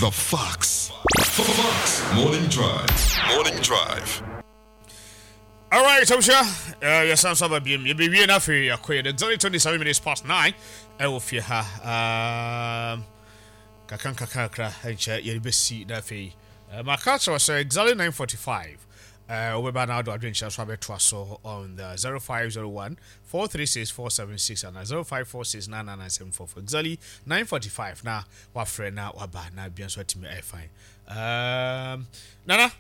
The Fox. Fox Morning Drive. Morning Drive. All right, abusua, yɛsan so aba biom. Yɛbɛwie no afei yɛakɔ yɛde exactly 27 minutes past 9 ɛwɔ fie ha. Um, kakra nkakra kakra nkyɛ yɛde bɛsi na afei maka kyerɛ sɛ exactly 9:45 wobɛba na wode adwenkyerɛ so abɛtoa so on the 0501 436 476 ana 0546 999 exactly 9:45 na wafrɛ na waba na bia nso atumi ayɛ fine. Um, nana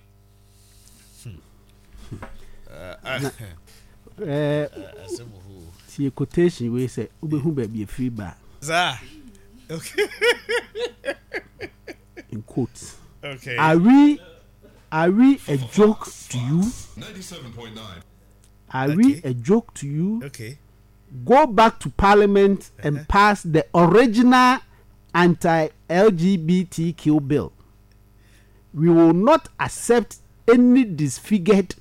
Tie quotation wei sɛ wobɛhu baabi ɛfiri ba. Saa. Okay. In quotes. Okay. Are we a joke to you? Are we a joke to you? Okay. Go back to parliament and pass the original anti-LGBTQ bill. We will not accept any disfigured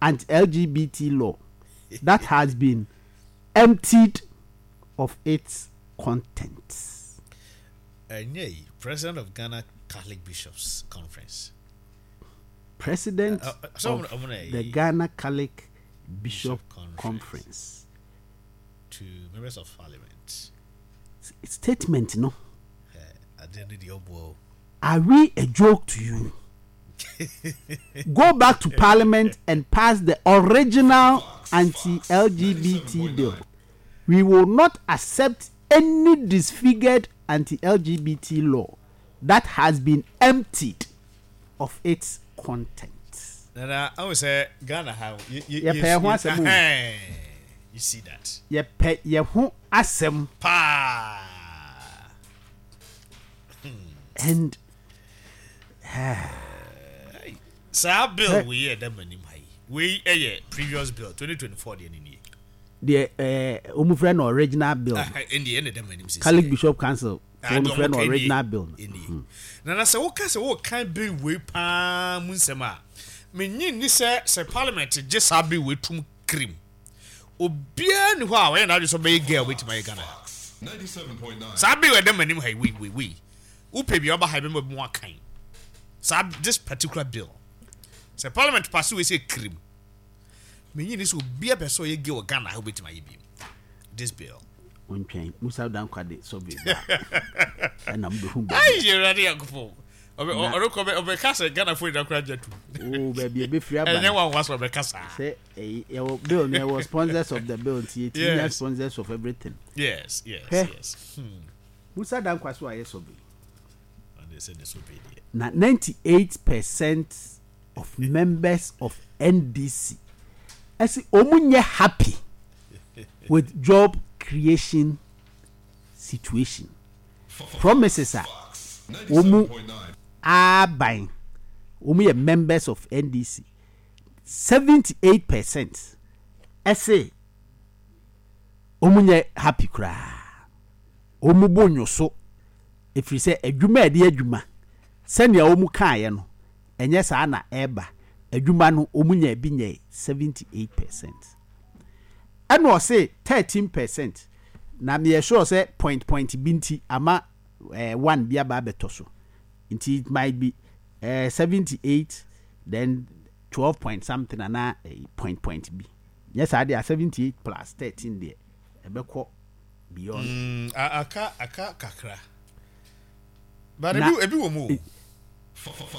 anti-LGBT law that has been emptied of its contents. Ɛnyɛ president of Ghana Catholic Bishops Conference. President so of the Ghana Catholic Bishop, Bishop Conference. Conference. To members of parliament. Statement, no. Are we a joke to you? Go back to parliament and pass the original anti-LGBT bill. We will not accept any disfigured anti-LGBT law that has been emptied of its content. Nana, I would say Ghana how you Yɛpɛ ho asɛm o. You see that? Yɛpɛ yɛ ho asɛm. Paa. And saa bill wei yɛ dɛ m'anim ha yi, wei yɛ previous bill, 2024 deɛ ne nie. Deɛ wɔn frɛ no original bill. Ɛndeɛ ɛna ɛda m'anim sisi. Catholic Bishop Council wɔn frɛ no original bill no. Ɛnie na sɛ woka sɛ woka bill wei paa mu nsɛm a, menyi nni sɛ parliament gye saa bill wei tum kirim, obiara ni hɔ a ɔyɛ n'adwene sɛ ɔbɛyɛ gay a obɛtumi ayɛ Ghana ha. Saa bill ɛda m'anim ha yi, wei wei wei, wopɛ bi a ɔba ha yi bɛma bi mu akan saa. This particular bill, sɛ parliament pass wei sɛ kirim, menyi ni sɛ obiara pɛ sɛ ɔyɛ gay wɔ Ghana ha obɛtumi ayɛ bi. This bill. Ntwɛn Musa Dankwa de survey ba ɛna mo bɛhu baabi. Ayi, Awurade Yankopɔn, ɔrekɔ ɔbɛka sɛ Ghana fo nyina kora gye to. Oo, baabi ebɛfiri aba. Ɛnyɛ wanwa sɛ ɔbɛka saa. Sɛ ɛyi yɛwɔ bill no, yɛwɔ sponsors of the bill, nti yɛtumi nya sponsors of everything. Hwɛ. Musa Dankwa so ayɛ survey. Ɔde sɛ ne survey deɛ. Na 98% of members of NDC ɛsi wɔn nyɛ happy with job creation situation promises a wɔn aban. Wɔn yɛ members of NDC, 78% ɛsɛ wɔn nyɛ happy koraa. Wɔn bo nyo so efiri sɛ adwuma a yɛde adwuma sɛnea wɔn kaeɛ no, ɛnyɛ saa na ɛreba. Adwuma no, wɔn nya bi nyɛ 78%. Ɛna ɔse 13% na meyɛ sure sɛ point point bi nti ama one bi aba abɛtɔ so, nti it might be 78 then 12 point something anaa point point bi. Nyɛ saa deɛ a, 78 plus 13 deɛ ɛbɛkɔ beyond. Aka kakra. But ebi wɔ mu o.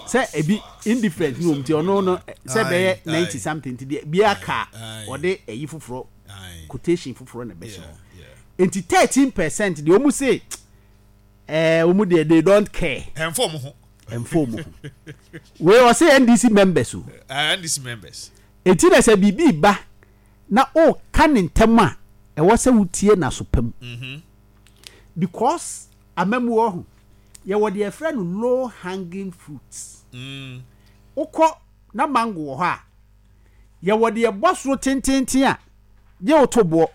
Sɛ ebi indifferent ne wɔm, nti ɔno no sɛ bɛyɛ 90 something, nti deɛ bi aka a ɔde ɛyi foforɔ, quotation foforɔ na ɛbɛhyɛ hɔ. Nti 13% deɛ, wɔn se wɔn deɛ, they don't care. Ɛnfɔ ɔmo ho. Ɛnfɔ wɔn ho. Wei ɔse NDC members o. NDC members. Eti na sɛ biribi ba na ɔka ne ntɛm a, ɛwɔ sɛ wotie n'aso pam because amamu wɔ ho, yɛwɔ deɛ yɛfrɛ no low hanging fruits. Wokɔ na mango wɔ hɔ a, yɛwɔ deɛ ɛbɔ soro tententen a gye wo to boɔ,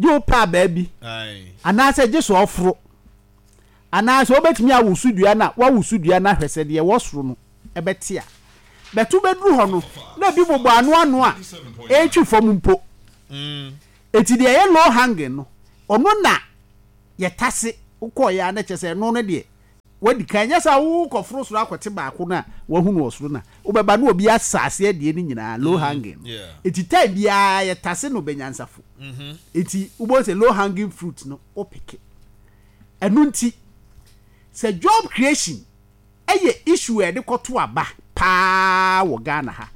gye wo pɛ abaa bi, anaasɛ gye sɛ ɔforo, anaasɛ wobɛtumi awoso dua no a woawoso dua no ahwɛ sɛ deɛ ɛwɔ soro no ɛbɛte a bɛto bɛduru hɔ no na ebi bobɔ ano ano a ɛretwi fam mpo. Eti deɛ ɛyɛ low hanging no, ɔno na yɛtase wokɔɔyɛ a na kyerɛ sɛ ɛno no deɛ. Wadi kan, nyɛ saa a wokɔforo soro akɔte baako no a wahu no wɔ soro no a, wobɛba na obi asa aseɛ deɛ no nyinaa, low hanging no. Enti time biara yɛtase no bɛnyansafo. Enti wobɛhu sɛ low hanging fruit no wopeke. Ɛno nti, sɛ job creation yɛ issue a yɛde kɔto aba paa wɔ Ghana ha,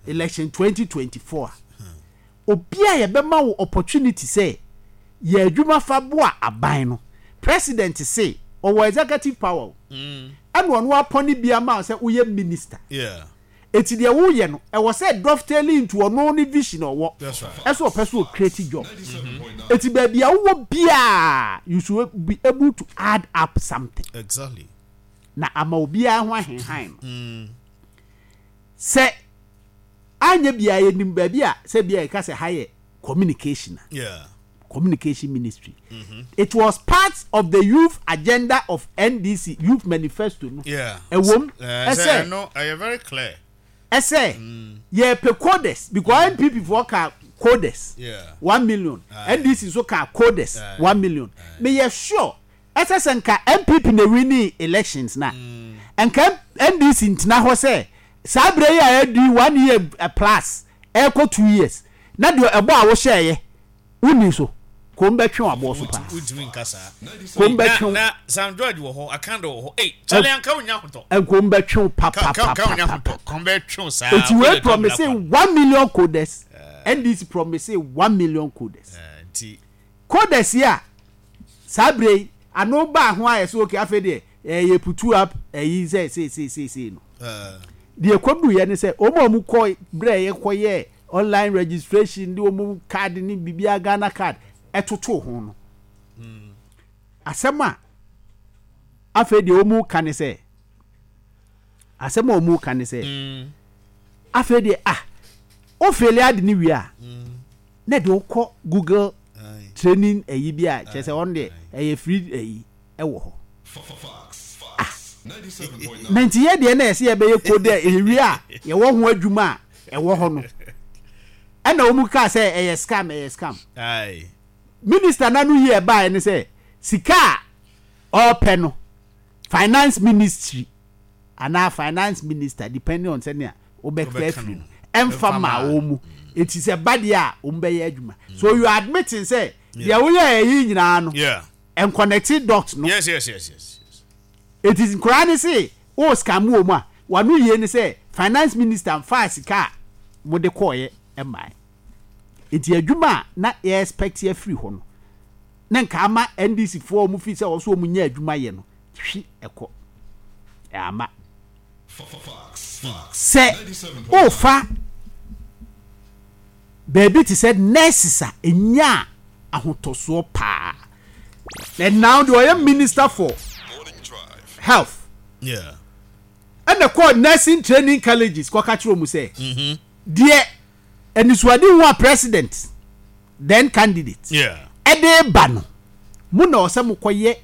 election 2024 a, Obi a yɛbɛma wo opportunity sɛ yɛ adwuma fa boa aban no, president se ɔwɔ executive power o, ɛna ɔno apɔne bi ama wo sɛ woyɛ minister. Eti deɛ woyɛ no, ɛwɔ sɛ dovetail into ɔno ne vision a ɔwɔ, ɛsɛ ɔpɛ sɛ ɔ create job. Eti baabi a wowɔ biara, you should be able to add up something. Na ama obiara ho ahenhan no. Sɛ anyɛ biara yɛnim baabi a sɛ bia yɛka sɛ ha yɛ communication a Yeah. communication ministry mm -hmm. it was part of the youth agenda of NDC youth manifesto no ɛwom ɛsɛ ɛno ɛyɛ very clear ɛsɛ yɛpɛ coders because NPP foɔ ka coders 1 million, NDC nso ka coders 1 million. Meyɛ sure ɛsɛ sɛ nka NPP na winning elections na nka NDC ntena hɔ sɛ saa berɛ yi a adi one year plus ɛrekɔ 2 years na deɛ ɛbɔ a wohyɛeɛ wonni so kom bɛtwe waboɔ so paa. Wontumi nka saa. Kom bɛtwe. Na Sam George wɔ hɔ, Akando wɔ hɔ. Ei, Charlie, anka wonya ahotɔ. Nkom bɛtwe wo papapapapa. Kom bɛtwe wo saa. Eti wei promise 1 million coders, NDC promise 1 million coders. Nti coders yi a saa berɛ yi ano baa ho ayɛ sɛ okay, afei deɛ ɛyɛ put up ɛyi sɛ seeseeseesei no, deɛ kɔduiɛ ne sɛ wɔn a wɔn kɔ berɛ yɛkɔyɛ online registration de wɔn card ne biribiara, Ghana Card ɛtoto ho no, asɛm a afei deɛ wɔn ka ne sɛ, asɛm a wɔn ka ne sɛ afei deɛ ah, ofill ade ne wie a na deɛ wokɔ Google training ɛyi bi a kyerɛ sɛ ɔno deɛ ɛyɛ free ɛyi ɛwɔ hɔ. Ah, na nti yɛ deɛ na yɛsɛ yɛbɛyɛ code a ɛwie a yɛwɔ ho adwuma a ɛwɔ hɔ no, ɛna wɔn kaa sɛ ɛyɛ scam, ɛyɛ scam. Minister nanu yi ɛbaeɛ ne sɛ sika a ɔrepɛ no, finance ministry anaa finance minister, depending on sɛnea wobɛka afiri no, ɛmfa ma wɔn mu. Eti sɛ ba deɛ a wɔn bɛyɛ adwuma, so you are admitting sɛ deɛ woyɛ ɛyi nyinaa no nconnect dot no. yes. Eti nkoraa ne se o scam wɔ mu a wano yie ne sɛ finance minister nfa sika a mo de kɔɔyɛ mmaa. Eti adwuma a na yɛ expect afiri hɔ no ne nka ama NDC foɔ a wɔn fi sɛ wɔso wɔn nyɛ adwuma yɛ no hwi ɛkɔ ama sɛ ofa baabi te sɛ nurses a enya ahotɔsoɔ paa. And now deɛ ɔyɛ minister for health ɛna kɔɔ nursing training colleges kɔka kyerɛ wɔn sɛ deɛ anisuade hu a president then candidate ɛde ba no mu na ɔsɛ mo kɔyɛ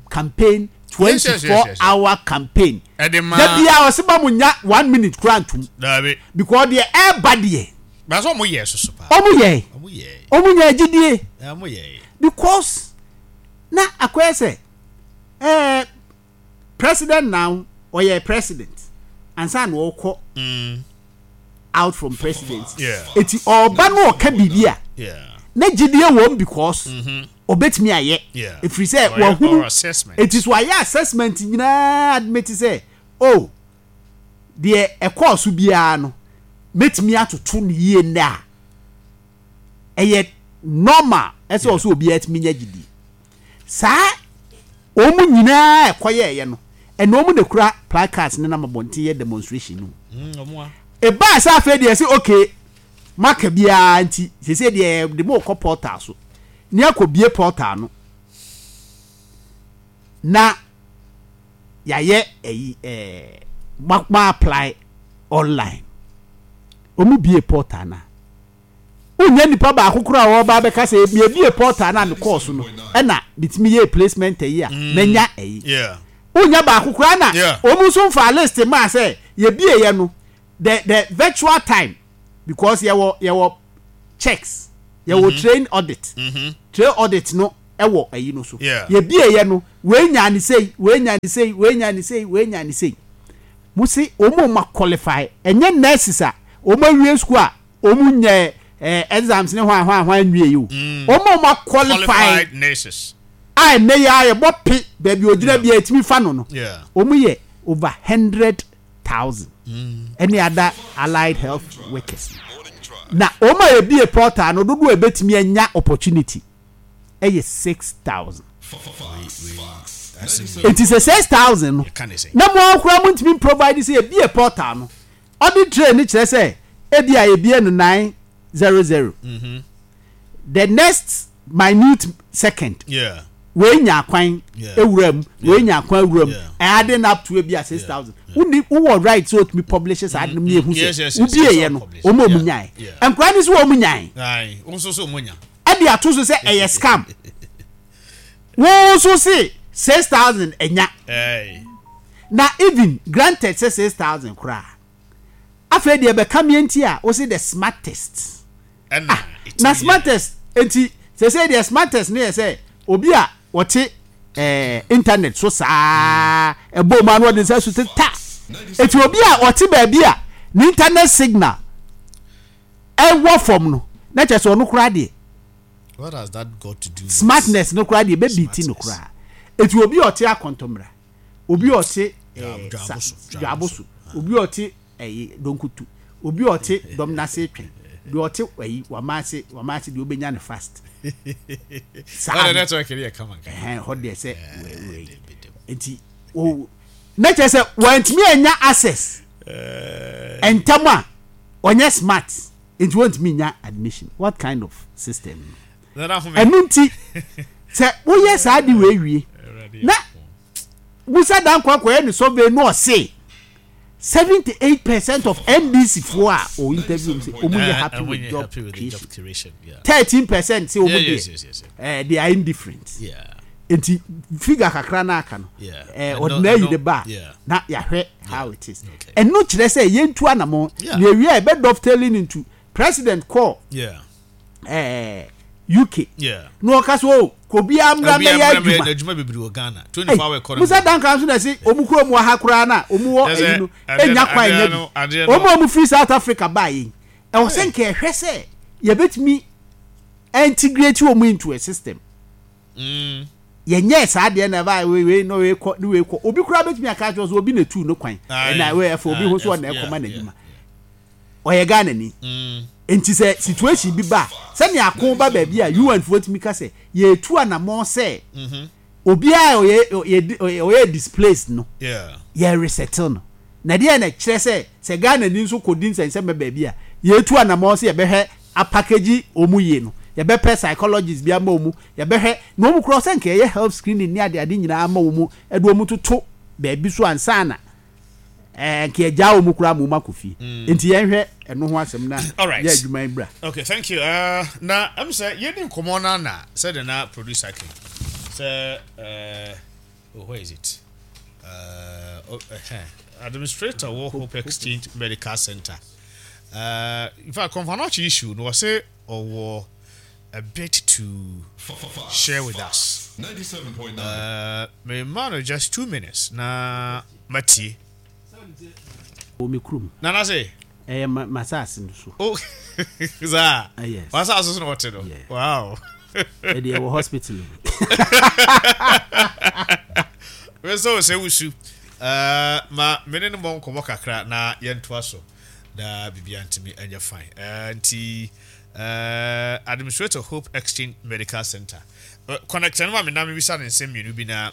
campaign, 24 hour campaign. Ɛde ma dabi a ɔsɛ ba mo nya one minute kura ntum because deɛ ɛɛba deɛ. Baasa ɔmo yɛ soso paa. Ɔmo yɛ. Ɔmo yɛ. Ɔmo nya agyidie. Ɔmo yɛ. Because na akɔyɛ sɛ president now ɔyɛ president ansa na ɔkɔ out from presidency. Eti ɔba no ɔka biribi a na gyidie wɔ mu because ɔbɛtumi ayɛ efiri sɛ wahunu. Eti so ayɛ assessment nyinaa admit sɛ oh, deɛ ɛkɔɔ so biara no mɛtumi atoto no yie nnɛ a ɛyɛ normal ɛsɛ ɔsɛ obiara tumi nya gyidie saa. Wɔn nyinaa ɛkɔyɛɛyɛ no, ɛna wɔn na kura placards ne nam abɔnten yɛ demonstration no. Ebaa sɛ afei deɛ sɛ okay, maka biara nti sese deɛ de mo kɔ portal so ne akɔ bie portal no na yɛayɛ ɛyi ma apply online. Wɔn bie portal na wonya nipa baako koraa a ɔba abɛka sɛ mebie portal na mekɔɔ so no ɛna metumi yɛ placement ɛyi a manya ɛyi. Wonya baako koraa na wɔn nso nfa list maa sɛ yɛbie yɛ no the virtual time because yɛwɔ checks, yɛwɔ train audit, train audit no. Ɛwɔ ayi no so. Yɛbieeɛ no, wei nyaa ne sei, wei nyaa ne sei, wei nyaa ne sei, wei nyaa ne sei. Mo se wɔn a wɔn qualify, ɛnyɛ nurses a wɔn awie school a wɔn nyɛ eh, exams ne hwan hwan hwan nwie yi o. Wɔn a wɔn qualify Qualified nurses. a ɛnnɛ yi ara yɛbɔ pe baabi a ogyina biara yɛtumi fa no no, wɔn yɛ over 100,000 ɛne other allied health workers. Na wɔn a yɛbie portal no dodoɔ a ɛbɛtumi anya opportunity yɛ 6,000. Nti sɛ 6,000 no, na mo ara koraa montumi provide sɛ yɛbie portal no, audit trail no kyerɛ sɛ ebi a yɛbie no 900. The next minute second, wei nya kwan ewura mu, wei nya kwan ewura mu, adding up to ebi a 6,000. Wonni wowɔ right sɛ otumi publish saa ade no mu ehu sɛ wobie yɛ no, wɔn a wɔn nyae. Nkora no nso wɔn nyae. Ɛde ato so sɛ ɛyɛ scam. Wo nso se 6,000 ɛnya. Na even granted sɛ 6,000 koraa. Afei deɛ ɛbɛka meɛ nti a wo se the smartest. Ah, na smartest nti sɛsɛ deɛ smartest no yɛ sɛ obi a ɔte eh, internet so saa ɛbɔ mu ano ɔde nsa so ta. Eti obi a ɔte baabi a ne internet signal ɛwɔ fam no na kyerɛ sɛ ɔno koraa deɛ What has that got to do with smartness no koraa deɛ bɛbi ti no koraa. Eti obi a ɔte akɔntɔmmra, obi a ɔte eh, dwaabo so, obi a ɔte ɛyi donkutu, obi a ɔte dɔm n'ase twɛn, deɛ ɔte ɛyi wamaase wamaase deɛ obenya no fast. Saa network yɛ kama nka. Ɛhɛn hɔ deɛ sɛ wei nti o na kyerɛ sɛ wɔntumi anya access ntɛm a ɔnyɛ smart nti wɔntumi nya admission. What kind of system no? Ɛno nti sɛ woyɛ saa de wei wie na Musa Dankwa kɔyɛ ne survey no ɔse 78% of NDC foɔ a o interview mu sɛ ɔmu nyɛ happy with job creation. 13% sɛ ɔmu deɛ eh, they are indifferent. Nti figure kakra no aka no eh, ɔde na ayi ne ba na yɛahwɛ how it is. Ɛno kyerɛ sɛ yɛntu anamɔ na ewie a ɛbɛ dovetailing into president kɔɔ eh, UK na ɔka sɛ o kò obiara mmra mmɛyɛ adwuma. Adwuma bebree wɔ Ghana. 24 hour economy. Musa Dankwa nso na ɛsɛ ɔmu kurom wɔ ha koraa na ɔmu wɔ ɛyi no enya kwan nya bi. Ɔmu a ɔmu firi South Africa baa yɛn. Ɛwɔ sɛ nka ɛhwɛ sɛ yɛbɛtumi integrate wɔn into a system. Mm. Yɛnyɛɛ saa deɛ na ɛbaa wei wei na wei kɔ ne wei kɔ. Obi koraa bɛtumi aka akyerɛ sɛ obi na etu no kwan. Ɛna wei ɛfɛ obi ho so ɔna ɛkɔma n'adwuma. Ɔyɛ Ghanani. Nti sɛ situation bi ba a, sɛnea ako ba baabi a UN foɔ tumi ka sɛ yɛretu anamɔn sɛ obiara a ɔyɛ ɔyɛ displaced no yɛ resettle no. Na deɛ na ɛkyerɛ sɛ sɛ Ghanani nso kɔdi nsɛnsɛmma baabi a, yɛretu anamɔn sɛ yɛbɛhwɛ apackage wɔn yie no, yɛbɛpɛ psychologist bi ama wɔn, yɛbɛhwɛ na wɔn koraa sɛ nka yɛyɛ health screening ne adeade nyinaa ama wɔn de wɔn toto baabi so ansa na ɛɛ nka yɛgyaa wɔn koraa ma wɔn akɔ fie. Nti yɛnhwɛ ɛno ho asɛm na yɛ adwuma yi bra. Okay, thank you. Na ɛm sɛ yɛdi nkɔmmɔ no na sɛdeɛ na producer ke sɛ oh, where is it? Oh, administrator wɔ Hope Exchange Medical Center. In fact, Komfo Anokye issue no wɔse ɔwɔ a bit to share with us. Me ma no just 2 minutes na matie. Wɔ me kurom. Nana se? Ɛyɛ m'asase no so. Oh, saa? Yes. W'asase so na wɔte no? Yeah. Wow. Ɛdeɛ ɛwɔ hospital. Me sɛ wo sɛ wusu. Ma me ne no mmɔ nkɔmmɔ kakra na yɛntoa so na biribiara ntumi nyɛ fine. Nti administrator Hope Exchange Medical Center. Connect no ma me na mebisa ne nsɛm mmienu bi na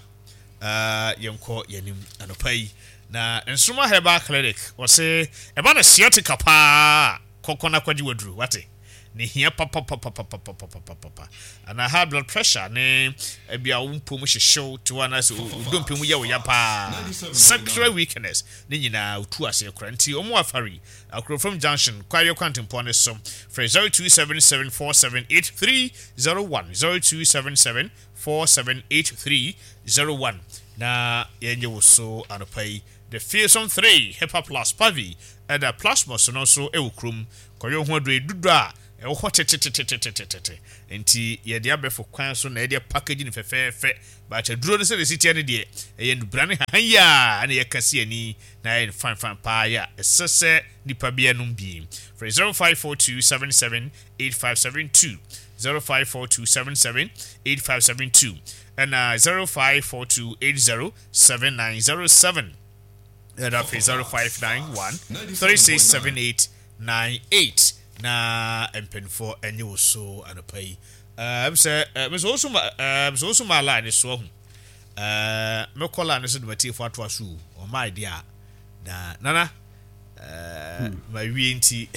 yɛnkɔ yɛnim anɔpa yi. Na Nsoroma Herbal Clinic wɔse ɛba no sciatica paa kɔkɔ na kɔgye waduru wate. Ne hia papapapapapapapapa anaa high blood pressure ne ebia wo mpom hyehyew te hɔ anaasɛ wo dompe mu yɛ wo ya paa, sexual weakness ne nyinaa otu aseɛ kora nti wɔn afari Akurofam junction Kwaeɛ kwantempɔn no so frɛ 0277478301 0277478301 na yɛnyɛ wo so anɔpa yi. The Fearsome 3 Hepa Plus Pavi ɛda Plasmos no nso wɔ kurom kɔyɛ wo ho aduro yi dodo a. Ɛwɔ hɔ tetetetetetete. Nti yɛde abɛfo kwan so na yɛde apackage no fɛfɛɛfɛ. But aduro no sɛdeɛ ɛsi teɛ no deɛ, ɛyɛ nnubra ne hahan yi ara na yɛka si ani na ayɛ no fine fine paa yɛ a ɛsɛ sɛ nipa biara nom bi. Frɛ 0542 77 8572, 0542 77 8572 ɛna 0542 80 7907 ɛna afei 0591 3678 98 na mpanimfoɔ ɛnye wo so anɔpa yi. Ɛm sɛ mesɛ wo so ma ɛm sɛ wo so ma line ne so ahu. Ɛɛ mekɔ line ne so de matiefo atoa so ɔma idea na nana ɛɛ ma wie nti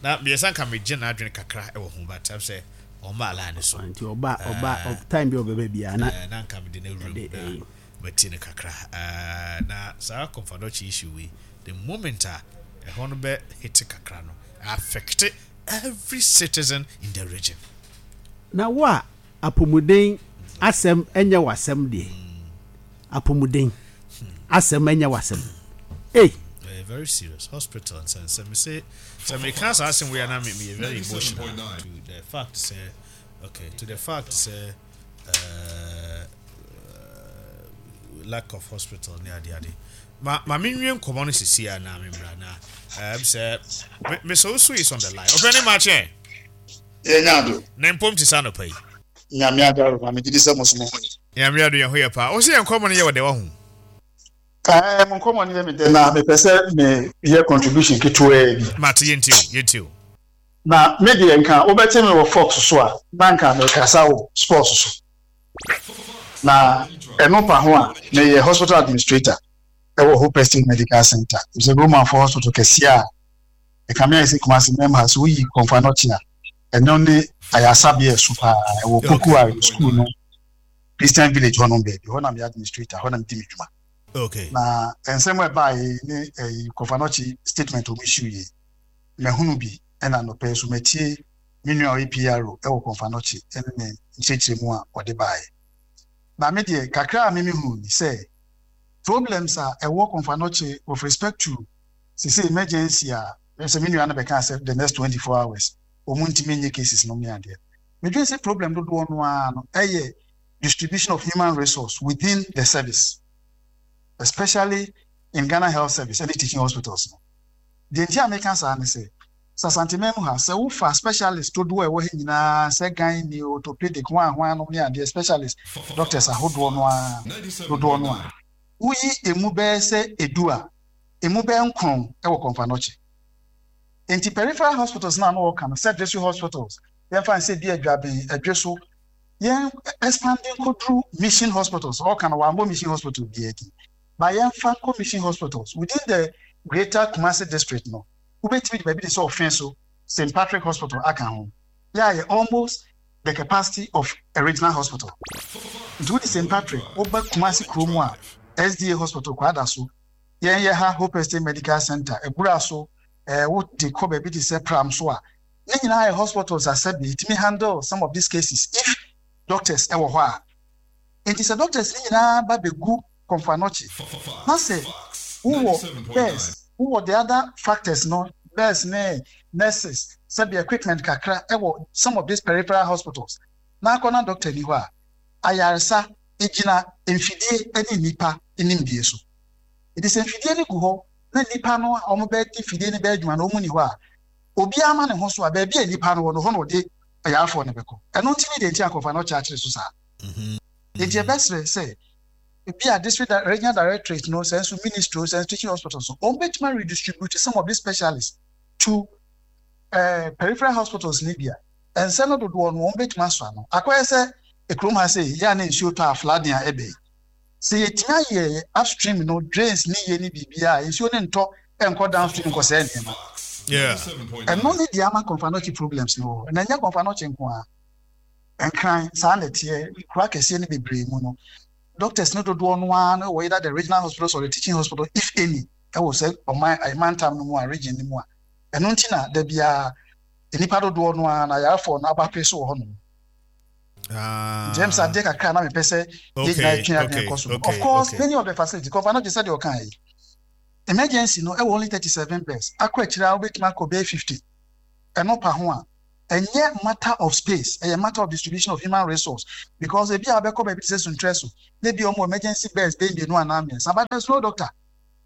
na meyɛ sɛ nka megye n'adwene kakra ɛwɔ ho but ɛm sɛ ɔma line ne so. Nti ɔba ɔba time bi ɔbɛba biara na na nka mede no awura mu na matie no kakra. Ɛɛ na saa Komfo Anokye issue wei the moment a ɛhɔ no bɛ hit kakra no affect every citizen in the region. Na wo a apomuden asɛm nyɛ w'asɛm deɛ, apomuden asɛm nyɛ w'asɛm. Ei! Ɛyɛ very serious. Hospital nsɛnsɛm. Me se sɛ meka saa asɛm wei a na me meyɛ very emotional to the fact sɛ okay to the fact sɛ uh, lack of hospital ne ade ade. Ma ma menwie nkɔmmɔ no sisi a na memmra na ɛm sɛ Mr. Osu is on the line. Ɔpɛ ne makyɛ. Yɛnya ado. Na mpom te sɛ anɔpa yi. Nyame adaro ma megye di sɛ mo so mo ho ye. Nyame ado yɛn ho yɛ paa. Wo se yɛn nkɔmmɔ no yɛ wɔ dɛ wahu. Ɛɛ mo nkɔmmɔ no yɛ me dɛ na mepɛ sɛ me yɛ contribution ketewaa bi. Mate yɛntie o yɛntie o. Na me deɛ nka wobɛte me wɔ Fox so a na nka mekasa wɔ sports so. Na ɛno pa ho a meyɛ hospital administrator ɛwɔ Hope Estate Medical Center. Sɛ Romanfoɔ hospital kɛseɛ a ɛkame ayɛ sɛ Kumasi mɛm ha sɛ woyi Komfo Anokye a ɛno ne ayaresabea ɛso paa ɛwɔ Pokuare school no Christian Village hɔnom baabi hɔ na meyɛ administrator hɔ na medi me dwuma. Okay. Na nsɛm a ɛbaeɛ yi ne ɛyi Komfo Anokye statement a wɔn issue yi mahunu bi ɛna anɔpa yi so matie me nua a ɔyɛ PRO ɛwɔ Komfo Anokye ɛne ne nkyerɛkyerɛmu a ɔde baeɛ. Na me deɛ kakra a me mehunu ni sɛ problems a ɛwɔ Komfo Anokye with respect to sese emergency a sɛ me nua no bɛka sɛ the next 24 hours wɔn ntumi nye cases nom ne adeɛ. Medwene sɛ problem dodoɔ no ara no ɛyɛ distribution of human resource within the service especially in Ghana Health Service ɛne teaching hospitals no. Deɛ nti a meka saa ne sɛ sɛ Asanteman mu ha sɛ wofa specialist dodoɔ a ɛwɔ ha nyinaa sɛ gynae, orthopedic, hwan hwan nom ne adeɛ specialist doctors ahodoɔ no ara dodoɔ no a woyi emu bɛyɛ sɛ edu a emu bɛyɛ nkron wɔ Komfo Anokye. Enti peripheral hospitals no a na wɔka no sɛ district hospitals, yɛmfa no sɛ bi Adwaben, Adweso, yɛn expand nkɔduru mission hospitals, ɔka no wammɔ mission hospital biara din, but yɛmfa nkɔ mission hospitals within the greater Kumasi district no, wobɛtumi de baabi te sɛ Ɔfenso, St. Patrick Hospital aka ho, yɛ a yɛ almost the capacity of a regional hospital. Nti wode St. Patrick, woba Kumasi kuro mu a, SDA Hospital Kwadaso, Yɛn yɛ ha Hope Estate Medical Center, Abura so, eh, wo de kɔ baabi te sɛ Pram so a, ne nyinaa yɛ hospitals a sɛbe ɛtumi handle some of these cases if doctors ɛwɔ hɔ a. Enti sɛ doctors ne nyinaa ba bɛgu Komfo Anokye, na sɛ wowɔ beds, wowɔ the other factors no, beds ne nurses, sɛbe equipment kakra ɛwɔ some of these peripheral hospitals, na akɔ na doctor ni hɔ a, ayaresa gyina mfidie ne nnipa nimdie so. Enti sɛ mfidie no gu hɔ na nnipa no a wɔbɛde mfidie no bɛyɛ adwuma no wɔn nni hɔ a, obiara ma ne ho so a, baabi a nnipa no wɔ no, hɔ na ɔde ayarefoɔ no bɛkɔ. Ɛno nti ne deɛ nti a nkurɔfoɔ no ɔkyeakyere so saa. Enti yɛbɛsrɛ sɛ ebi a district regional directorate no, sɛ nso ministry o, sɛ nso teaching hospitals no, wɔbɛtumi a redistribute some of these specialists to uh, peripheral hospitals no bi a, ɛnsɛ no dodoɔ no wɔbɛtumi asɔ ano. Akɔyɛ sɛ ekurom ha sei, yɛ a na nsuo tɔ a flooding a ɛbɛ yi. Sɛ yɛtumi ayɛ upstream no drains ne yie ne biribiara a, nsuo no ntɔ nkɔ downstream nkɔsɛe nneɛma. Ɛno ne deɛ ama Komfo Anokye problems no wɔ hɔ. Na ɛnyɛ Komfo Anokye nko ara. Nkran, saa na ɛteɛ. Nkuro akɛseɛ no bebree mu no, doctors no dodoɔ no ara no wɔ either the regional hospitals or the teaching hospital if any ɛwɔ sɛ ɔman mantam no mu a, region no mu a. Ɛno nti na da biara nnipa dodoɔ no ara no ayarefoɔ no abape so wɔ hɔnom. Ah. Nti ɛm sɛ adeɛ kakra na mepɛ sɛ yɛ nyinaa yɛtwe adwene kɔ so. Of course, many of the facilities, kɔfa no gye sɛdeɛ ɔka yi. Emergency no ɛwɔ only 37 beds. Akɔ akyire a wobɛtumi akɔ bɛyɛ 50. Ɛno pa ho a. Ɛnyɛ matter of space, ɛyɛ matter of distribution of human resource because ebi a wobɛkɔ baabi te sɛ Suntrɛ so na ebi a wɔn wɔ emergency beds bɛyɛ mmienu anaa mmiɛnsa but there's no doctor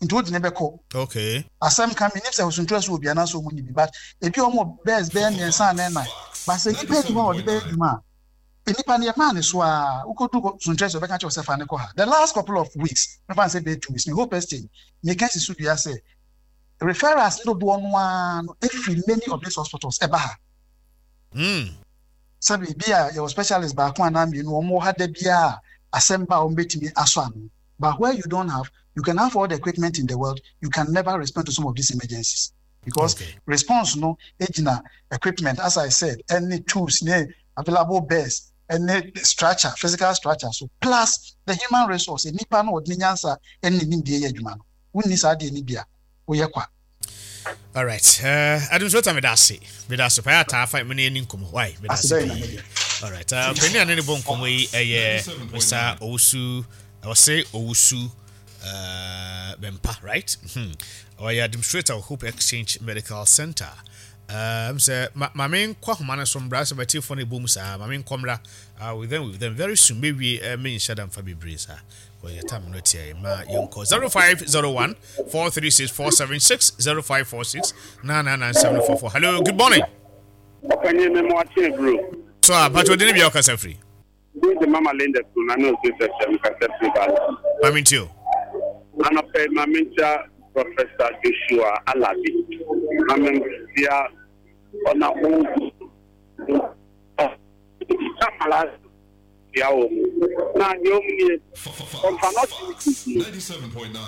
nti wode ne bɛkɔ. Okay. Asɛm ka menim sɛ Suntrɛ so wɔ bi anaasɛ wɔn nni bi but ebi a wɔn wɔ beds bɛyɛ mmiɛnsa anaa nnan but sɛ nipa nni hɔ a wɔde bɛyɛ adwuma a nipa no yɛmaa ne so a wokɔduru Suntrɛ so ɔbɛka kyerɛ wo sɛ fa ne kɔ ha. The last couple of weeks mɛfa no sɛ bɛyɛ 2 weeks me hope exchange meka si so dua sɛ Referrals no dodoɔ no ara no firi many of these hospitals ɛba ha. Sɛbi ebi a yɛwɔ specialist baako anaa mmienu wɔn wɔ ha da biara a asɛm ba a wɔn bɛtumi asɔ ano. But where you don't have, you can have all the equipment in the world, you can never respond to some of these emergencies because okay. response no gyina equipment as I said ɛne tools ne available beds ɛne structure physical structure so plus the human resource nipa no ɔde ne nyansa ɛne ne nimdeɛ yɛ adwuma no. Wonni saa adeɛ no bi a, woyɛ kwa. Alright, administrator meda ase. Meda ase pa ataa fa me ne ani nkɔmmɔ. Why? Meda ase pii. Alright, panyin a ne ne bɔ nkɔmmɔ yi ɛyɛ Mr. Owusu, ɔse Owusu Bɛmpa, right? Ɔyɛ administrator of Hope Exchange Medical Center. Sɛ ma me nkɔ ahoma no so mbra sɛ matiefo no ɛbɔ mu saa, ma me nkɔ mmra. With them very soon, mewie me nhyɛ da mfa bebree saa. Wɔyɛ tam no tiɛ ma yɛnkɔ 0501 436 476 0546 999744. Hello, good morning. Ɔpanyin mi mo ate bro. So a patro de ne bia ɔkasa firi. Bi de mama Linda so na no so sɛ sɛ mkasa firi ba. Mami ntio. Anɔpɛ mami ntia Professor Joshua Alabi. Mami ntia ɔna o. Tia wɔn mu. Na deɛ wɔn nie, wɔmfa no ɔte no.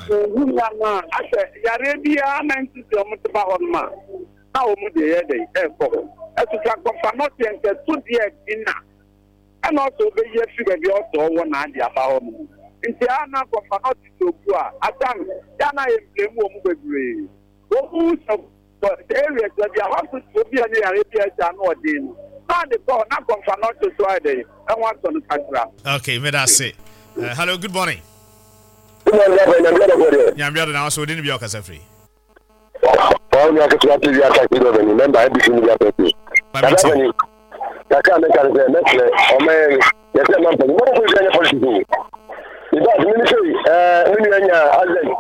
Wɔhu nneɛma a asɛ yareɛ biara na nti sɛ wɔn te ba hɔ nom a, na wɔn deɛ yɛ dɛn ɛrekɔ hɔ. Ɛso sɛ akɔfa no ɔteɛ nka ɛso deɛ ɛdi na ɛna ɔsɛ ɔbɛyi afiri baabi a ɔsɛ ɔwɔ na ade aba hɔ nom. Nti a na akɔfa no ɔte sɛ obu a, atam yɛ a na yɛ mplɛmu wɔn bebree. Wɔn hu sɛ Wɔ areas baabi a hospital bi a ne yare bi a ɛsɛ ano ɔden no, na ade kɔ hɔ na kɔmfa no ɔte so ayɛ dɛn ɛho atɔ no kakra. Okay, meda ase. Hello, good morning. Good morning, Papa. Nyambia da bɔdeɛ. Nyambia da na waso odi ne bia ɔkasa firi. Wɔn nua ketewa TV atake dɔ bɛni mɛmba ABC media company. Dada bɛni kakra mɛka ne sɛ mɛsrɛ ɔmɛn yɛsɛ ma mpanyin mɔmɔ polisi ɛnyɛ politics o. In fact, mimi sɛ ɛɛ me nua nya accident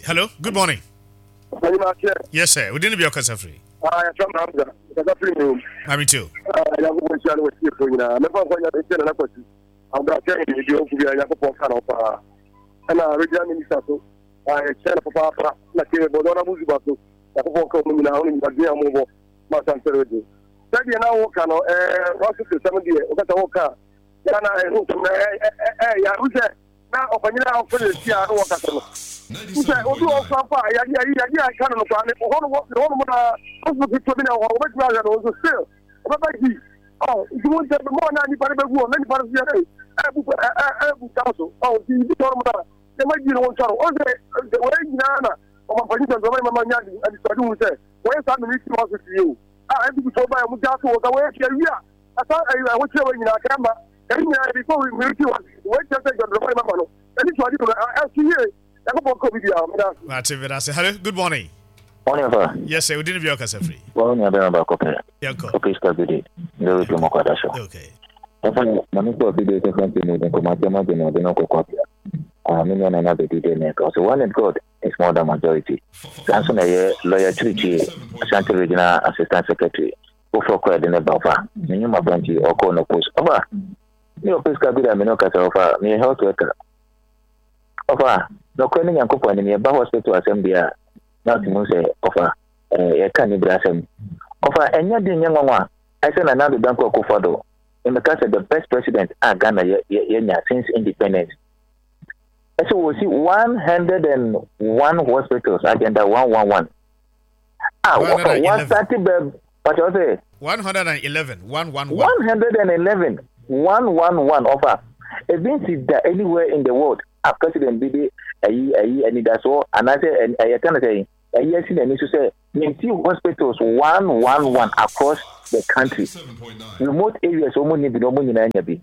Hello, good morning. Yes, sir. We didn't be a firi. Ah, yɛfrɛ me Hamza, mekasa firi Mmrom. Maame tio. Ah, Nyankopɔn nhyira ne wɔtiefoɔ nyinaa. Mɛfa nkwa nya nhyɛ Nana Kwasi. Ahobrɛaseɛ ne deɛ ɔnku biara Nyankopɔn ka ne ho paa. Ɛna regional minister so, ah, yɛkyerɛ no papaapa. Na kee bɔdɔ na Buzuba so, Nyankopɔn ka wɔn nyinaa ho ne nnwumadwen a wɔbɔ ma Asante region. Sɛdeɛ na woka no, ɛɛ, hospital sɛm deɛ, wokasa woka a, yɛ na ɛho nsɛm na ɛɛ, yɛ sɛ na ɔpanyin a ɔfrɛ no si a na wɔkasa no sɛ obi wɔ ɔkura mpo a yadeɛ ayi yadeɛ a ɛka no no koraa ne hɔ no ne hɔ nom na hospital ketewa bi na ɛwɔ hɔ wɔbɛtumi ahwɛ no nso still ɔbɛba gyi ɔ nti mo ntɛm mo na nipa no bɛgu hɔ na nipa no so yɛ dɛ ɛbu ɛbu ta so ɔ nti bi hɔ nom na nneɛma gyi no wɔn ntwa no ɔn sɛ wɔyɛ nyinaa na ɔmampanyin sɛ ɔmampanyin mama nya adisuade hu sɛ wɔyɛ saa military hospital yi o a NPP foɔ ba yɛ mo gya so wɔ sɛ wɔyɛ fia wi a ɛsa ɛho kyerɛ wɔ nyinaa kɛma Ɛyi nyinaa yɛde kɔ military hospital. Wei kyerɛ sɛ John Dramani Mahama no, n'ani so ade no ɛso yie. Nyankopɔn nka obi biara. Meda ase. Mate, meda ase. Hello, good morning. Morning, sir. Yes, sir. Udin bi ɔkasa firi. Wɔn nua bɛrɛ baako pɛ. Yɛnkɔ. Okay, sika bi de. Ndé bi mo kwada so. Okay. Papa, maame sɛ ɔbi de sɛ fɛn mu de nkɔmɔ atɛm adi na ɔde no kɔkɔ abia. Ah, me nua nana bɛdi de ne ka. So one in God is more than majority. Saa nso na ɛyɛ lawyer Kyirikyie, Ashanti Regional Assistant Secretary. Foforɔ koraa de ne ba ɔfa ne nnwuma pa nti ɔkɔɔ no post ɔfa me ɔpɛ sika bi da me ne ɔkasa ɔfa meyɛ health worker ɔfa nɔkorɛ ne Nyankopɔn anim yɛba hospital asɛm deɛ a na ɔte mu sɛ ɔfa eh, yɛka ne bere asɛm ɔfa ɛnyɛ den nyɛ nwanwa ɛsɛ na Nana Dankwa Akufo-Addo mmɛka sɛ the best president a Ghana yɛ yɛnya since independence ɛsɛ wɔsi 101 hospitals agenda 111 a wɔfa wɔasate bɛ pàtó sɛ. 111 111. 111 111 ɔfa ebi nsi da anywhere in the world. a president bi de ayi ayi anidasoɔ anaasɛ ɛyɛ ka no sɛ ɛyi asi n'ani so sɛ yɛnsi hospitals one one one across the country, remote areas wɔn nni bi na wɔn nyinaa nya bi.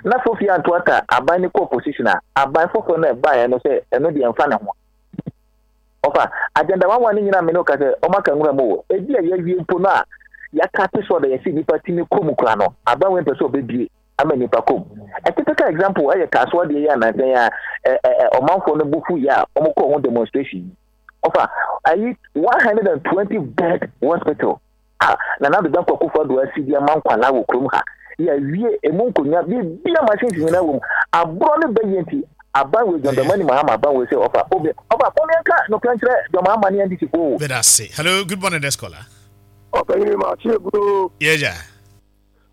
Na Sophia Antoata aban no kɔ opposition a, aban foforɔ no ɛbaeɛ no sɛ ɛno deɛ ɛmfa ne ho. Ɔfa agenda one one ne nyinaa me ne ɔka sɛ ɔma ka nwura mu o. Ebi a yɛawie mpo no a yɛaka te sɛ ɔda yɛsi nipa tumi kɔ mu kora no, aban wei mpɛ sɛ ɔbɛbie ama nipa kɔ mu. A typical example ɛyɛ Kasoa deɛ yɛ anansan a ɔmanfoɔ no bo fu yɛ a wɔkɔɔ ho demonstration yi. Ɔfa ayi 120 bed hospital a Nana Addo Dankwa Akufo-Addo asi de ama nkwalaa wɔ kurom ha. Yɛawie emu nkonnwa, biribiara machines nyinaa wɔ mu. Aborɔ no bɛyɛ nti aban wei John Dramani Mahama aban wei sɛ ɔfa obi ɔfa wɔn yɛn ka nokora nkyerɛ John Mahama ne NDC fo o. Meda ase. Hello, good morning, this caller. Ɔpanyin ma akye eburo. Yɛgya.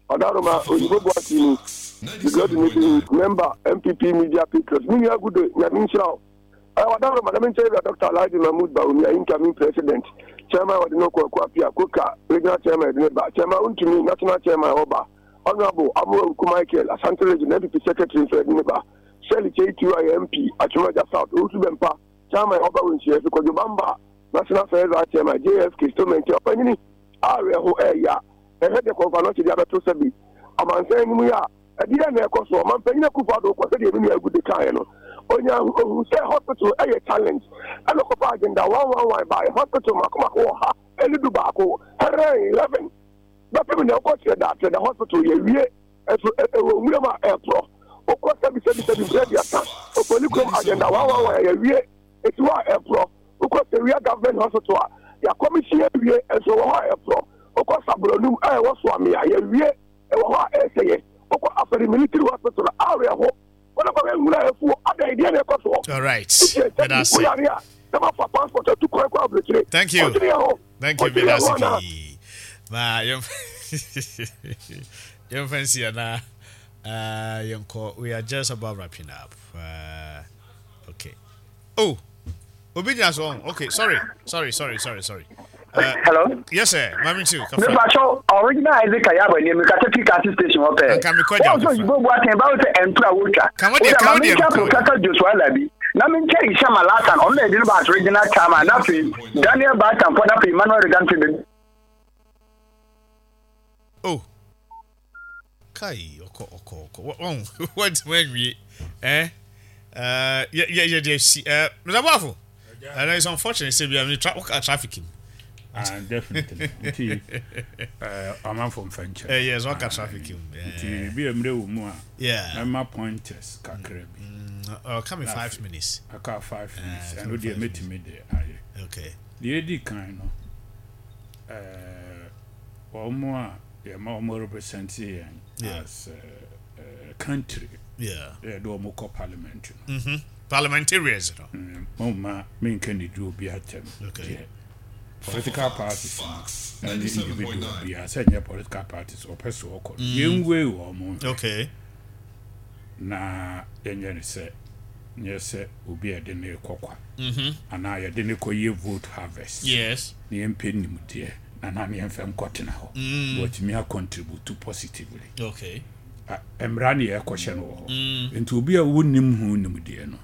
Ɔdaroma Oyibo Boakye ni, the great meeting member NPP media patriot. Me nua Gude, Nyame nhyira wo. Ɛɛ Ɔdaroma na menkyɛ wura Dr. Alhaji Mahmood Bawumia incoming president, chairman wɔde no kɔ Akuapia, Koka, regional chairman yɛde ne ba, chairman Wontumi, national chairman ɔba, Honorable Amoah Awuku Michael, Asante region NPP secretary nso yɛde ne ba, Shirley Kyei Tiwa yɛ MP, Atwema South, Owusu Bɛmpa, chairman ɔba wɔ nhyiafi, Kwadwo Bamba, national first vice chairman, JFK, Stomente, ɔpanyini a awerɛho ɛɛya. Ɛhwɛ deɛ Kɔmfa Anɔkye de abɛto sɛbe amansan anim yi a, ɛdeɛn na ɛkɔ soɔ? Ɔmanpanyin Akufo Addo kɔ sɛdeɛ me nua Agude kaeɛ no, ɔnya ɔhuu sɛ hospital yɛ challenge ɛna ɔkɔfaa agenda 111 baeɛ, hospital mako mako 111, 111 bɛpem nnɛ wokɔ Trɛda, Trɛda hospital yɛawie nso ɛwɔ nwuram a ɛreporɔ, wokɔ sɛbi sɛbi sɛbi mprɛ aduasa, Ofoli kurom agenda 111 a yɛawie ɛsi hɔ a ɛreporɔ, wokɔ Sewia government hospital a yɛakɔmihyin awie nso ɛwɔ hɔ a ɛreporɔ. Wokɔ Sabrɔnum a ɛwɔ Soame a, yɛawie, ɛwɔ hɔ a ɛresɛeɛ. Wokɔ Afari Military Hospital a, awerɛho. Wɔn akɔhwɛ nwura a afuo, adɛn, deɛn na ɛkɔ soɔ? All right. Wotie Meda sɛbi, ase. woyare a, na mafa passport atu kwan kɔ aburokyire. Thank you. Ɔdwene yɛn ho. Thank you. Ɔdwene Meda yɛn ase ho anaa? pii. Ma yɛmfa nsi anaa yɛnkɔ. We are just about wrapping up. Okay. Oh, obi gyina so ɔn. Okay, sorry, sorry, sorry, sorry, sorry. Hello. Yes sir, maame nti kafra. Mepacho original Isaac Ayaba ni mi kasa fi kasi station hɔ pɛɛ. Nka mi kɔ gya kafra. Wɔn so yibo bu atɛn bawo sɛ ɛntura wotwa. Kamo deɛ kamo deɛ Maame nkyɛn Professor Joshua Alabi na mi nkyɛn Isham Alhassan ɔno na yɛde no ba as regional chairman na afei Daniel Batamfo na afei Emmanuel Regan fi. Oh. Kai ɔkɔ ɔkɔ ɔkɔ wɔn wɔntumi anwie eh yɛ yɛ yɛ deɛ si eh Mr. Boafo and it's unfortunate sɛ bi a mi tra ɔka traffic mu. Ah definitely nti amanfo mfa nkyɛn. Eh yes ɔka traffic mu. Nti bi a mmerɛ wɔ mu a. Yeah. Mɛma pointers kakra bi. Ɔka mi 5 minutes. Aka 5 minutes ɛno deɛ mɛtumi de ayɛ. Okay. Deɛ edi kan no ɛɛ wɔn a yɛma wɔn represent yɛn as a country. Yɛde wɔn kɔ parliament no. Parliamentarians no. Mo ma menka ne di obi atɛm. Okay. Political parties no ɛne individual biara sɛ nyɛ political parties ɔpɛ so ɔkɔ no. Yɛnwei wɔn. Okay. Na yɛnyɛ ne sɛ nyɛ sɛ obi a yɛde ne kɔ kwa. Anaa yɛde ne kɔ yɛ vote harvest. Yes. Na yɛmpɛ nimdeɛ. Na na ne yɛmfa nkɔtena hɔ. Na watumi acontribute positively. Okay. Mmara ne yɛkɔhyɛ no wɔ hɔ. Nti obi a wonnim ho nimdeɛ no,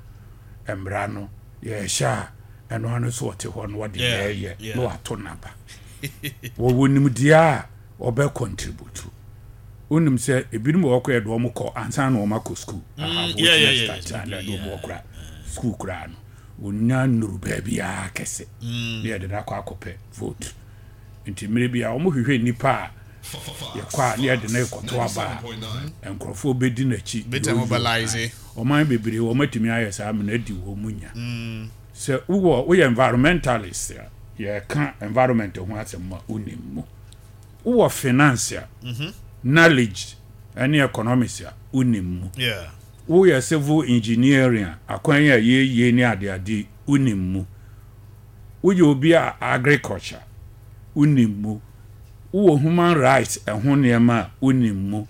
mmara no yɛhyɛ a ɛno ano so ɔte hɔ no wɔde yɛyɛ na wato n'aba. Wɔwɔ nimdeɛ a ɔbɛ contribute. Wonim sɛ ebinom wɔ hɔ koraa yɛde wɔn kɔ ansa na wɔn akɔ school. Aha, na yɛde wɔn kora school koraa no. Wɔnya nnuru baabiara kɛse. Na yɛde no akɔ akɔpɛ vote. Nti mmerɛ bi a wɔhwehwɛ nnipa a yɛkɔ a na yɛde no rekɔto aba a nkurɔfoɔ bɛdi n'akyi. Bɛtɛ mobilize. Ɔman bebree wɔn atumi ayɛ saa amena adi wɔn mu nya. Sɛ wowɔ woyɛ environmentalist a yɛka environment ho asɛm a wonim mu. Wowɔ finance a knowledge ɛne economics a wonim mu. Woyɛ civil engineering a akwan a yɛyie ne adeade wonim mu. Woyɛ obi a agriculture wonim mu. Wowɔ human rights ɛho nneɛma a wonim mu.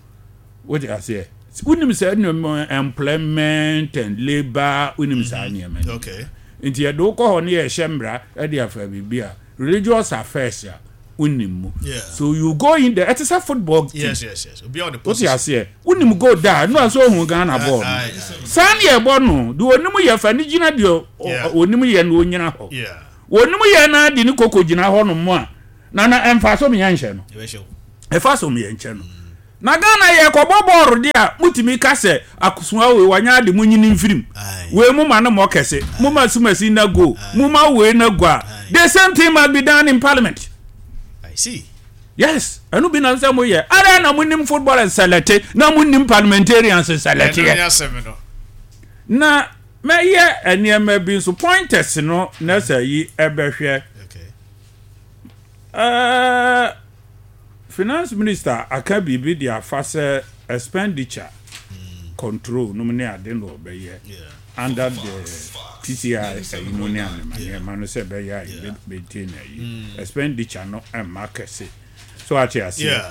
Wote aseɛ? Wonim saa nneɛma employment and labour wonim saa nneɛma no. Okay. Nti yɛde wokɔ hɔ ne yɛhyɛ mmara de afa biribi a religious affairs a Wonim mu. So you go in there, ɛte sɛ football team. Yes, yes, yes. Obi a ɔde Wote position. aseɛ? Wonim goal da a, ɛno a sɛ ohun Ghana bɔɔl no. Saa ne yɛbɔ no. Deɛ onim yɛ fa ne gyina deɛ onim yɛ no onyina hɔ. Onim yɛ na de ne koko gyina hɔ nom a, na na ɛmfa so meyɛ nhyɛ no. Ɛfa so meyɛ nkyɛ no. Na Ghana yɛ kɔbɔ bɔɔl deɛ a, motumi ka sɛ akosoa wei wanya ade mo nyini mfirim. Wei mo ma no mmɔ kɛse, mo ma sumasi na goal, mo ma wei na go a. The same thing must be done in parliament. I see. Yes, ɛno bi na sɛ mo yɛ. Ada na mo nim footballers sɛlɛte, na mo nim parliamentarians sɛlɛteɛ. Na mɛyɛ nneɛma bi nso pointers no na sɛ yi ɛbɛhwɛ. Ɛɛ finance minister aka biribi de afa sɛ expenditure control nom ne ade na ɔbɛyɛ under the TCI ayi no ne anema nneɛma no sɛ ɛbɛyɛ a yɛbɛ maintain ayi expenditure no ɛmma kɛse so ate aseɛ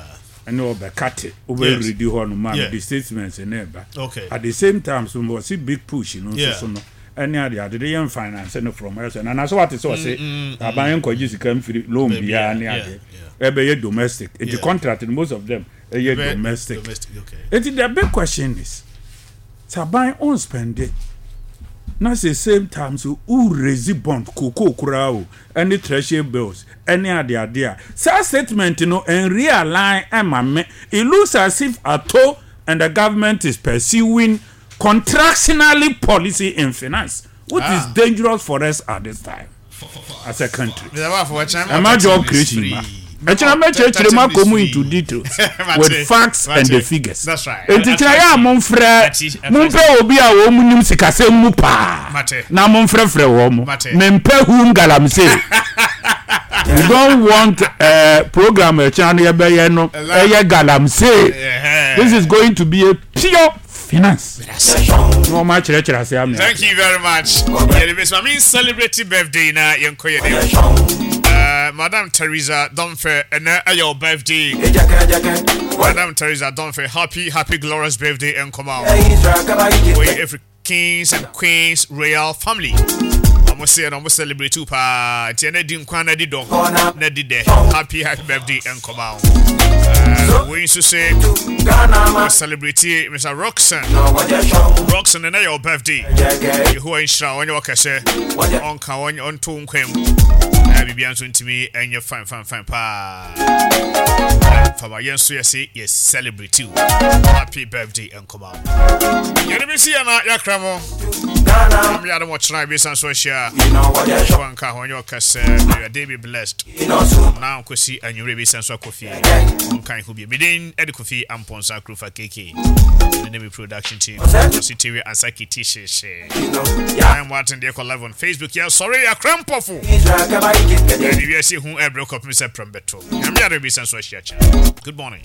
ɛne ɔbɛkate wobɛredi hɔ no ma the statements ne ɛba at the same time so wɔse big push no nso so no ɛne ade ade de yɛn finance no from ɛsɛ na na so wate sɛ ɔse mm, mm, aban mm. nkɔgye sika mfiri loan biara ne ade ɛbɛyɛ domestic nti contract no most of them ɛyɛ domestic nti the big question is sɛ aban on spend it na sɛ same time so wo raise bond kookoo koraa o ɛne treasury bills ɛne ade ade a saa statement no ɛnrealign ɛma me it looks as if ato and the government is pursuing contractionary policy in finance which ah. is dangerous for us at this time as a country. Ɛma job creation ma. Ɛkyerɛ mɛkyerɛkyerɛ mu akɔ mu into details with facts and the figures. Nti kyerɛ yɛ a momfrɛ mompɛ obi a wɔn mu nim sikasɛm mu paa na momfrɛfrɛ wɔn mo. Mempɛ whom galamsey. We don't want program ɛkyerɛ no yɛbɛyɛ no ɛyɛ galamsey. This is going to be a pure finance. Na wɔn akyerɛkyerɛ ase amea. Thank you very much. Yɛde bɛ sɛ maame celebrate birthday na yɛn kɔ yɛn anim. Madam Teresa Domfe, ɛnɛ ɛyɛ wo birthday. Madam Teresa Domfe, happy happy glorious birthday nkɔma wo. Wei every Kings and Queens Royal Family. Ɔmo se ɛna ɔmo celebrate wo paa. Nti ɛna di nkwa na di dɔ na di dɛ. Happy happy birthday nkɔma wo. Wei nso se ɔmo celebrate Mr. Roxanne. Roxanne ɛna yɛ wo birthday. Yehowa nhyira wo ɔnyɛ wo kɛsɛ. Ɔnka ɔnto wo nkwa mu. Na biribiara nso ntumi ɛnyɛ fine fine fine paa. Fama yɛn nso yɛse yɛ celebrate you. Happy birthday nkɔma wo. Yɛde bɛsi yɛ na yɛakra mo. Nyame adom ɔkyena yɛbɛsan so ahyia. Yehowa nka ho ɔnyɛ ɔkɛsɛ. May your day be blessed. Na nkosi anwummerɛ yɛbɛsan so akɔ fie. Ɔnka ho bio. Medin ɛde Kofi Amponsah Kurufa KK. Ne ne me production team. Ɔsi TV ansa kiti hyehye. I'm watching the Echo live on Facebook. Yeah, sorry, yɛakra mpɔfo. Yɛde wiase hu ɛbrɛ kɔpem sɛ prɛm bɛto. Nyame adom yɛbɛsan so ahyia kyena. Good morning.